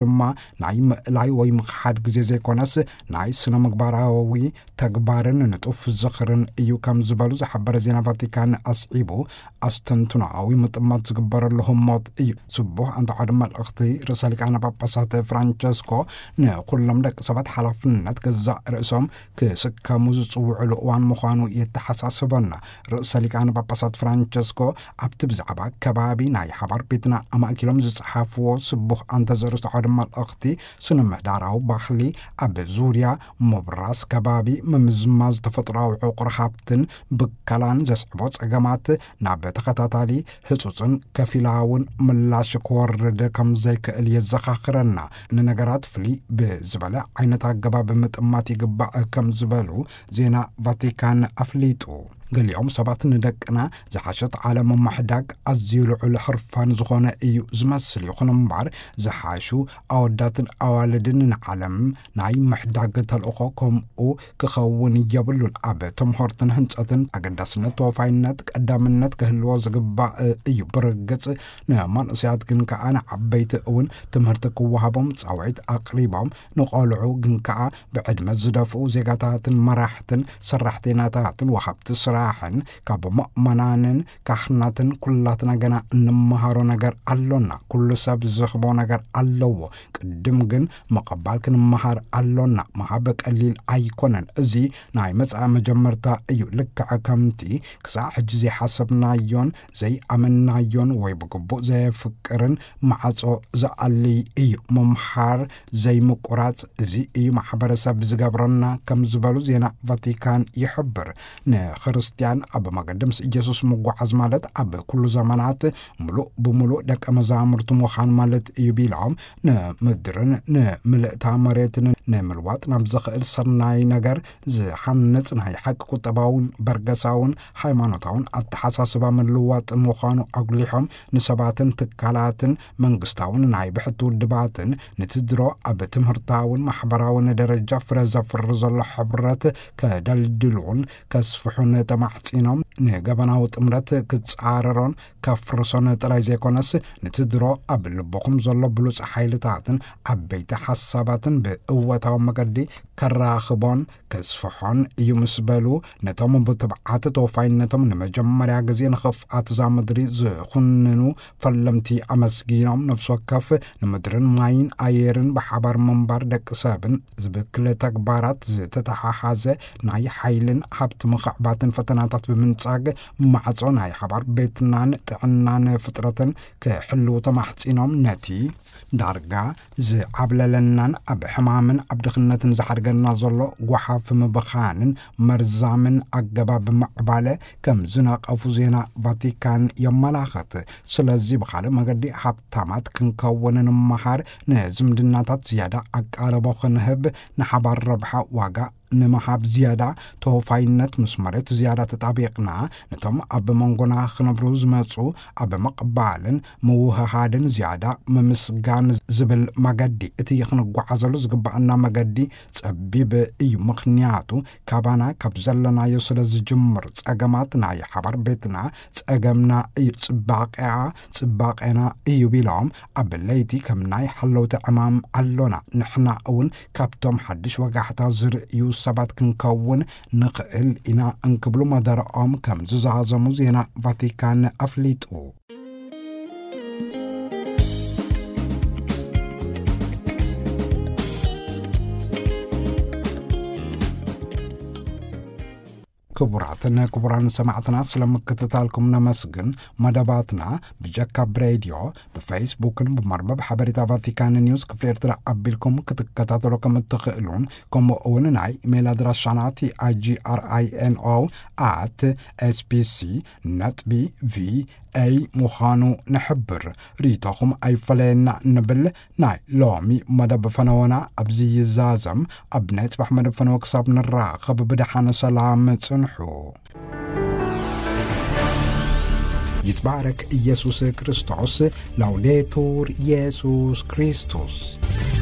ድማ ናይ ምእላይ ወይ ምኽሓድ ግዜ ዘይኮነስ፣ ናይ ስነ ምግባራዊ ተግባርን ንጡፍ ዝኽርን እዩ ከም ዝበሉ ዝሓበረ ዜና ቫቲካን ኣስዒቡ ኣስተንትኖኣዊ ምጥማት ዝግበረሉ ህሞት እዩ። ስቡሕ ኣንታ ዓውደ መልእኽቲ ርእሰ ሊቃነ ጳጳሳት ፍራንቸስኮ ንኩሎም ደቂ ሰባት ሓላፍነት ገዛእ ርእሶም ክስከሙ ዝጽውዕሉ እዋን ምዃኑ የተሓሳስበና። ርእሰ ሊቃነ ጳጳሳት ፍራንቸስኮ ኣብቲ ብዛዕባ ከባቢ ናይ ሓባር ቤትና ኣማእኪሎም ዝጸሓፍዎ ስቡሕ ኣንተ ዘርእስቲ ዓውደ መልእኽቲ፣ ስነ ምህዳራዊ ባህሊ ኣብ ዙርያ ምብራስ ከባቢ፣ ምምዝማዝ ተፈጥሮኣዊ ዕቑር ሃብትን ብከላን ዘስዕቦ ጸገማት ናብ ተኸታታሊ ህጹጽን ከፊላውን ምላሽ ክወርድ ከም ዘይክእል የዘኻኽረና። ንነገራት ፍልይ ብዝበለ ዓይነት ኣገባብ ምጥማት ይግባእ ከም ዝበሉ ዜና ቫቲካን ኣፍሊጡ። ገሊኦም ሰባት ንደቅና ዝሓሸት ዓለም ምሕዳግ ኣዝዩ ልዑል ሕርፋን ዝኾነ እዩ ዝመስል። ይኹን እምበር፣ ዝሓሹ ኣወዳትን ኣዋልድን ንዓለም ናይ ምሕዳግ ተልእኾ ከምኡ ክኸውን የብሉን። ኣብ ትምህርትን ህንጸትን ኣገዳስነት ተወፋይነት ቀዳምነት ክህልዎ ዝግባእ እዩ። ብርግጽ ንመንእሰያት ግን ከኣ ንዓበይቲ እውን ትምህርቲ ክወሃቦም ጻውዒት ኣቕሪቦም፣ ንቖልዑ ግን ከኣ ብዕድመ ዝደፍኡ ዜጋታትን መራሕትን ሰራሕተኛታትን ወሃብቲ ስራሕን ካብ ምእመናንን ካህናትን ኩላትና ገና እንመሃሮ ነገር ኣሎና። ኩሉ ሰብ ዝረኽቦ ነገር ኣለዎ። ቅድም ግን ምቕባል ክንመሃር ኣሎና። ምሃብ ቀሊል ኣይኮነን። እዚ ናይ መጻኢ መጀመርታ እዩ። ልክዕ ከምቲ ክሳዕ ሕጂ ዘይሓሰብናዮን ዘይኣመንናዮን ወይ ብግቡእ ዘየፍቅርን ማዕጾ ዝኣልይ እዩ። ምምሃር ዘይምቁራጽ፣ እዚ እዩ ማሕበረሰብ ዝገብረና ከም ዝበሉ ዜና ቫቲካን ይሕብር። ንክርስትያን ኣብ መገዲ ምስ ኢየሱስ ምጓዓዝ ማለት ኣብ ኩሉ ዘመናት ምሉእ ብምሉእ ደቀ መዛሙርቱ ምዃን ማለት እዩ ቢሎም፣ ንምድርን ንምልእታ መሬትን ንምልዋጥ ናብ ዝኽእል ሰናይ ነገር ዝሓንጽ ናይ ሓቂ ቁጠባውን በርገሳውን ሃይማኖታውን ኣተሓሳስባ ምልዋጥ ምዃኑ ኣጉሊሖም፣ ንሰባትን ትካላትን መንግስታውን ናይ ብሕቲ ውድባትን ንትድሮ ኣብ ትምህርታውን ማሕበራውን ደረጃ ፍረ ዘፍሪ ዘሎ ሕብረት ከደልድሉን ከስፍሑን ተማሕጺኖም፣ ንገበናዊ ጥምረት ክጻረሮን ከፍርሶን ጥራይ ዘይኮነስ፣ ንትድሮ ኣብ ልብኹም ዘሎ ብሉጽ ሓይልታትን ዓበይቲ ሓሳባትን ብእወታዊ መገዲ ከራኽቦን ከስፍሖን እዩ ምስ በሉ፣ ነቶም ብትብዓት ተወፋይነቶም ንመጀመርያ ግዜ ንኽፍኣት እዛ ምድሪ ዝኹንኑ ፈለምቲ ኣመስጊኖም፣ ነፍሲ ወከፍ ንምድርን ማይን ኣየርን ብሓባር ምንባር ደቂ ሰብን ዝብክል ተግባራት ዝተተሓሓዘ ናይ ሓይልን ሃብቲ ምኽዕባትን ፈተናታት ብምንጻግ፣ ማዕጾ ናይ ሓባር ቤትናን ጥዕናን ፍጥረትን ክሕልዉ ተማሕጺኖም፣ ነቲ ዳርጋ ዝዓብለለናን ኣብ ሕማምን ኣብ ድኽነትን ዝሓድገና ዘሎ ጓሓፍ ምብኻንን መርዛምን ኣገባብ ምዕባለ ከም ዝነቐፉ ዜና ቫቲካን የመላኽት። ስለዚ ብኻልእ መገዲ ሃብታማት ክንከውን ንምሃር፣ ንዝምድናታት ዝያዳ ኣቃልቦ ክንህብ፣ ንሓባር ረብሓ ዋጋ ንምሃብ ዝያዳ ተወፋይነት፣ ምስ መሬት ዝያዳ ተጣቢቕና፣ ነቶም ኣብ መንጎና ክነብሩ ዝመጹ ኣብ ምቕባልን ምውህሃድን ዝያዳ ምምስጋን ዝብል መገዲ። እቲ ክንጓዓዘሉ ዝግባኣና መገዲ ጸቢብ እዩ፣ ምኽንያቱ ካባና ካብ ዘለናዮ ስለ ዝጅምር። ጸገማት ናይ ሓባር ቤትና ጸገምና እዩ፣ ጽባቐኣ ጽባቐና እዩ ቢሎም፣ ኣብ ለይቲ ከም ናይ ሓለውቲ ዕማም ኣሎና። ንሕና እውን ካብቶም ሓድሽ ወጋሕታ ዝርእዩ ሰባት ክንከውን ንኽእል ኢና እንክብሉ መደረኦም ከም ዝዛዘሙ ዜና ቫቲካን ኣፍሊጡ። ክቡራትን ክቡራን ሰማዕትና፣ ስለ ምክትታልኩም ነመስግን። መደባትና ብጀካ ብሬድዮ፣ ብፌስቡክን ብመርበብ ሓበሬታ ቫቲካን ኒውስ ክፍሊ ኤርትራ ኣቢልኩም ክትከታተሉ ከም እትኽእሉን፣ ከምኡ እውን ናይ ኢሜይል ኣድራሻና ቲ ኣይ ጂ ኣር ኣይ ኤን ኦ ኣት ኤስ ቢ ሲ ነጥቢ ቪ ኤ ምዃኑ ንሕብር። ርእይቶኹም ኣይፈለየና ንብል። ናይ ሎሚ መደብ ፈነወና ኣብዚ ይዛዘም። ኣብ ናይ ጽባሕ መደብ ፈነወ ክሳብ ንራኸብ ብደሓን ሰላም ጽንሑ። ይትባረክ ኢየሱስ ክርስቶስ። ላውዴቱር ኢየሱስ ክርስቶስ።